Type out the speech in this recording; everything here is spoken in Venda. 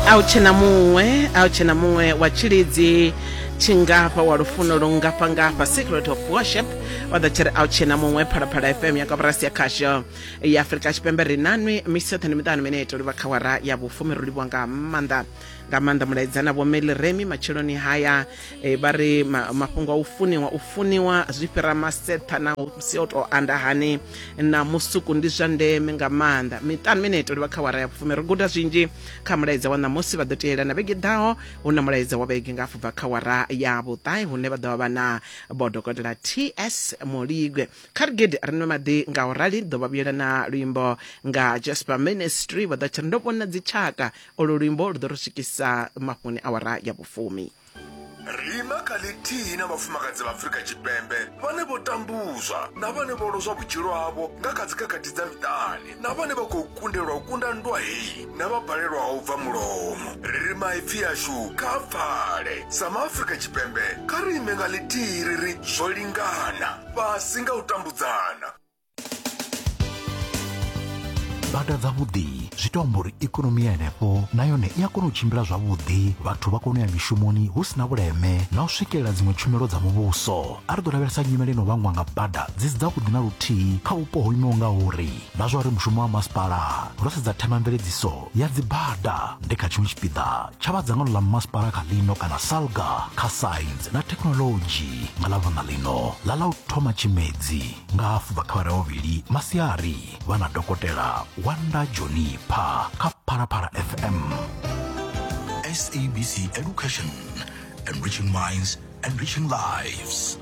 A u tshena muṅwe, a u tshena muṅwe wa tshilidzi tshingafha wa lufuno lungafhangafha. Secret of Worship vha ḓo tshiri a u tshena muṅwe. Phalaphala FM ya koporasi ya khasho ya Afrika Tshipembe ri nanwi misi yoṱhe ndi miṱanu minete u livha kha wara ya vhufumi. Ro livhuwa nga maanḓa nga maanḓa mulaedza na vho Meliremi matsheloni haya. E, vha ri ma, mafhungo a u funiwa u funiwa zwi fhira maseṱha na musi o tou anda hani na musuku ndi zwa ndeme nga maanḓa. Miṱanu minete u livha kha wara ya vhufumi. Ri guda zwinzhi kha mulaedza wa ṋamusi, vha ḓo tiela na vhege ḓaho hu na mulaedza wa vhege nga hafhu bva kha wara ya vhuṱahe hune vha ḓo vha vha na vhodokotela TS Muligwe. Kha ri gidi ri nwe maḓi nga u rali ḓo vha vhuyela na luimbo nga Jasper Ministry vha ḓo tshi ri ndo vhona dzitshaka. Olo luimbo lu ḓo ri swikisa mafhungoni awara ya vhufumi. Ri ima kha ḽithihi na vhafumakadzi vha Afrika Tshipembe vhane vho tambuzwa na vhane vho lozwa vhutshilo havho nga kha dzikhakhathi dza miṱani na vhane vha khou kundelwa u kunda nndwa heyi na vha balelwaho u bva mulomo. Ri ri maipfi ashu kha a pfale. Sa MaAfrika Tshipembe, kha ri ime nga ḽithihi ri ri zwo lingana, fhasi nga u tambudzana. Bada dzavhuḓi zwi to amba uri ikonomi ya henefho na yone i a kona u tshimbila zwavhuḓi, vhathu vha kona u ya mishumoni hu si na vhuleme na u swikelela dziṅwe tshumelo dza muvhuso. A ri ḓo lavhelesa nyimele ino vhangwa nga bada dzi si dzavhuḓi na luthihi kha vhupo ho imaho nga uri na zwa uri mushumo wa masipala ro sedza themamveledziso ya dzibada ndi kha tshiṅwe tshipiḓa tsha vha dzangano ḽa masipala kha ḽino kana SALGA kha Science na Thekhinoḽodzhi nga Ḽavhuṋa ḽino ḽa ḽa u thoma Tshimedzi. Nga hafu bva kha awara ya vhuvhili masiari vha na Dokotela Wanda Johnny Pha kha Phalaphala FM. SABC Education, enriching minds, enriching lives.